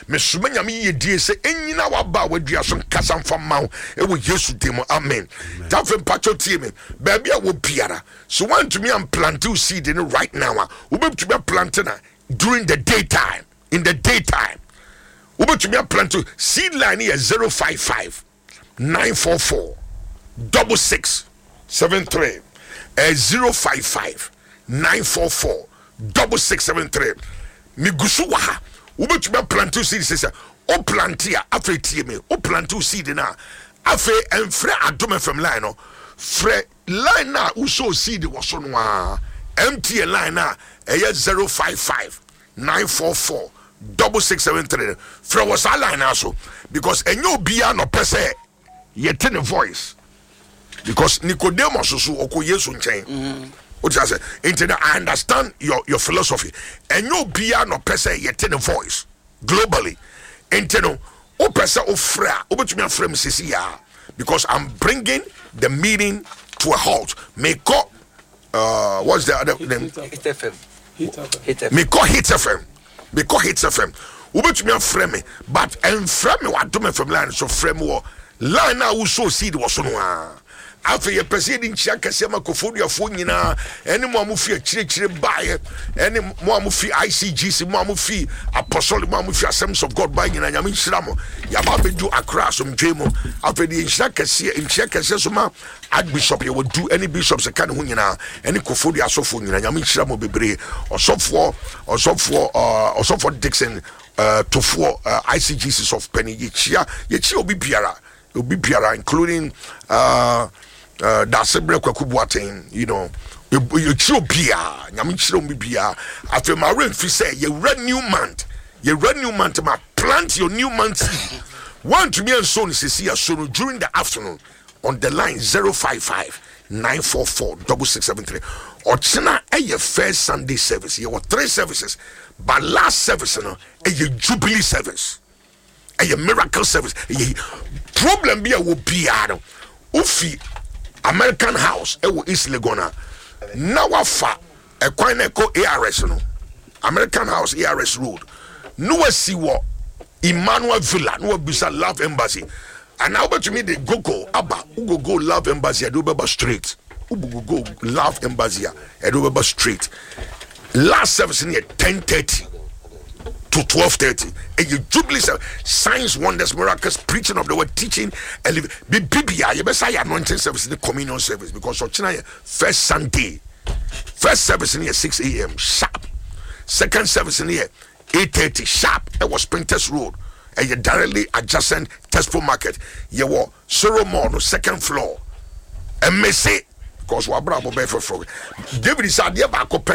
Mesoma Nyame yiyedie sɛ ɛnyina w'aba a wadua so nkasa mfa mma wo ɛwɔ Yesu din mu, amen. Nti afei mpakyɛw tie me, baabi a wɔ biara, so woantumi amplante wo seed no right now a, wobɛtumi aplante na during the day time, in the day time wobɛtumi aplante seed. Line yɛ 055 944 6673, 055 944 6673. Megu so wɔ ha. Wobɛtumi aplante seed sɛ wo plante a, afei tie me, wo plante seed no a, afei ɛmfrɛ Adom FM line no, frɛ line no a wosɔ seed wɔ so no a, MTN line a ɛyɛ 055 944 6673. Frɛ wɔ saa line no so because ɛnyɛ obiara na ɔpɛ sɛ yɛte ne voice, because Nicodemus so ɔkɔ Yesu nkyɛn. O ti sɛ nti na I understand your philosophy. Ɛnyɛ obiara na ɔpɛ sɛ yɛte ne voice globally, nti no wopɛ sɛ wofrɛ a, wobɛtumi afrɛ me sisi yaa because I'm bringing the meeting to a halt. Mekɔ what's the other name? Hit FM. Hit FM. Mekɔ Hit FM, mekɔ Hit FM. Wobɛtumi afrɛ me, but ɛmfrɛ me wɔ Adom FM line so, frɛ me wɔ line a wosɔ seed wɔ so no a. Afei yɛpɛ sɛ yɛde nkyia kɛseɛ ma Kofoduafoɔ nyinaa, ɛne mo a mofi akyirikyiri baeɛ, ɛne mo a mofi ICGC, mo a mofi Apostolic, mo a mofi Assemblies of God baeɛ nyinaa. Nyame nhyira mo. Yɛaba abɛdu Akra asomdwee mu. Afei de yɛnhyira kɛseɛ, nkyia kɛseɛ so ma Archbishop yɛwɔ du ɛne bishops ka ne ho nyinaa, ɛne Kofodua asɔfoɔ nyinaa. Nyame nhyira mo bebree. Ɔsɔfoɔ Dixon Tofoɔ, ICGC sɔfo panyin, yɛkyia obi biara, obi biara, including Dasebrɛ Kwaku Boateng. Yɛkyia obiara. Nyame nhyira obi biara. Afei ma werɛ mfi sɛ yɛwura new month, yɛwura new month ma plant your new month seed. Woantumi anso no sesi aso no during the afternoon on the line 055 944 6673. Ɔkyena ɛyɛ first Sunday service. Yɛwɔ three services, but last service no ɛyɛ jubilee service, ɛyɛ miracle service. Ɛyɛ problem bi a wɔ biara no, wofi American House ɛwɔ East Legon a, na wafa ɛkwan na ɛkɔ ARS no, American House, ARS Road, na wasi wɔ Emmanuel Villa na wabisa Love Embassy, anaa wobɛtumi de Google aba. Wogogo Love Embassy, ɛde wobɛba straight. Wogogo Love Embassy a, ɛde wobɛba straight. Last service no yɛ 10:30 to 12:30. Ɛyɛ jubilee service, signs, wonders, miracles, preaching of the word, teaching. Bibibia yɛbɛsa yɛ anointing service ne communion service because ɔkyena yɛ first Sunday. First service no yɛ 6 a.m. sharp, second service no yɛ 8:30 sharp. Ɛwɔ Spintex Road, ɛyɛ directly adjacent Tespo Market. Yɛwɔ Soro Mall no second floor. Ɛmɛse because wabrabɔ bɛyɛ foforɔ. David sɛ adeɛ baako pɛ.